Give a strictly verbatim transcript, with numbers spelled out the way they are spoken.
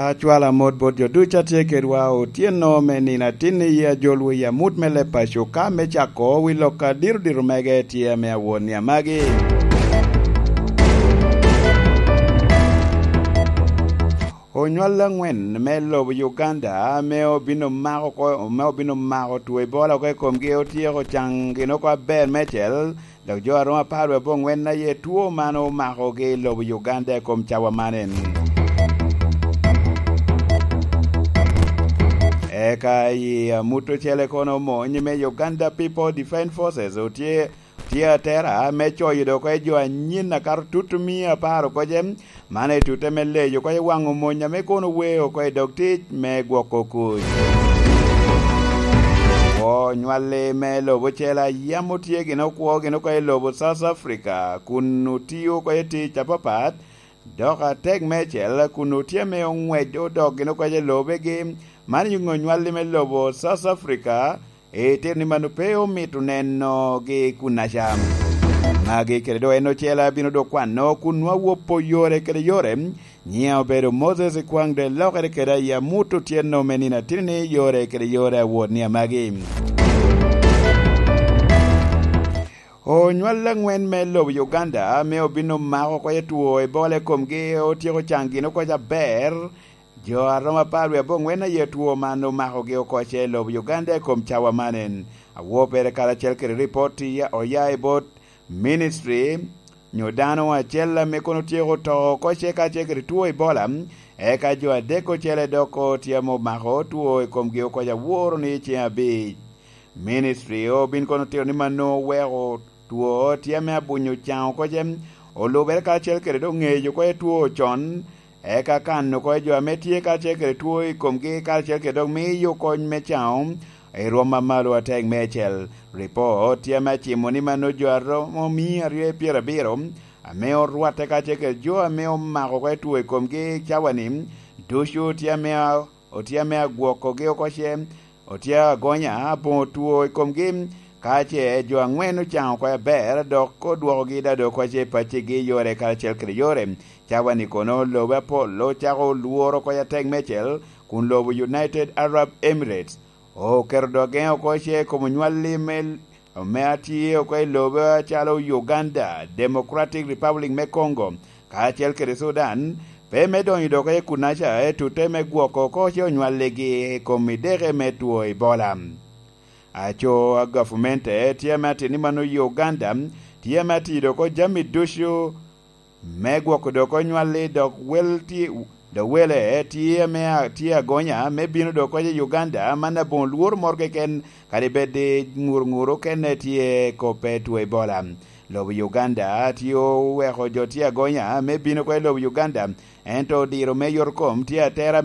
Acwalo amot bot jo ducu a tye kedwa otyeno me nino atin i ajol wi amut me leb paco ka me cako wi lok a dito dito mege tye ame awot ni amagi. Onywal angwen me lobo Uganda ame obino mako ko-, ame obino mako two Ebola oko i komgi otyeko caŋ gin oko aber mecel, dok jo a romo apar wie abongwen aye two man omakogi i lobo Uganda i kom cawa man en. Eka i amut ocele kono omony me Uganda People Defence Forces otye, tye atera me coyo dok oko jo anyin akato tut mia apar oko ce, man aye tute me leyo oko i waŋo mony ame kono weo oko i dog tic me gwoko kuc. Onywalli me lobo ocele a yam otye gin okwo gin oko i lobo South Africa, kun otio oko i tic apapat, dok atek meicel kun otye ame oŋwec odok gin oko i lobegi, man onywalli me lobo South Africa, itito ni mano pe omito nenogi kunnaca. Magi kede doŋ en ocele abino dok kwano kun nwa wopo yore kede yore. Nyiŋa obedo Moses Kwaŋ de lokere kede ayi amut otyeno me nino atini ni yore kede yore awot ni amagi. Onywal aŋwen me lobo Uganda ame obino mako oko i two Ebola i komgi otyeko caŋ gin oko ca aber. Jo a romo apar wie abongwen aye two man omakogi oko ce i lobo Uganda i kom cawa man en. Awo pere karacel kede ripot iya-, oya i bot ministry nyo dano acel ame kono otyeko to oko ce kacel kede two Ebola, eka jo adek ocele dok tye ame omako two i komgi oko ca woro ni ceŋ abic. Ministry obin kono tito ni mano oweko two tye ame abunyo caŋ oko ce, olubere karacel kede doŋ ŋeyo oko i two con, eka kan oko i jo ame tye karacel kede two i komgi karacel kede dok miyo kony me caŋo i rwom amalo atek meicel. Ripot tye ame acimo ni mano jo a romo mia aryo i pyerabiro ame orwatte karacel kede jo ame omako oko i two i komgi cawa-ni, ducu tye ame a-, otye ame agwokogi oko ce, otye agonya aboŋo two i komgi, ka ce jo aŋwen ocaŋo oko aber, dok odwokogi dado oko ce i paccigi yore karacel kede yore. Cawa-ni kono lobe apol ocako lworo oko atek meicel, kun lobo United Arab Emirates oketo dogeŋ oko ce i kom onywalli me, me atye oko i lobe acalo Uganda, Democratic Republic me Congo, kacel kede Sudan, pe me donyo dok i kunnaca, ento te me gwoko oko ce onywalligi i kom ideke me two Ebola. Aco a gavmente tye ame atito ni mano i Uganda, tye ame atido oko jami ducu me gwoko dok onywalli, dok wel tye, dok wele tye ame a-, tye agonya me bino dok oko i Uganda, man aboŋo lworo moro keken, kadi bed i ŋur ŋur okene tye kop pe two Ebola. Lobo Uganda tye oweko jo tye agonya me bino oko i lobo Uganda, ento odiro me yot kom tye atera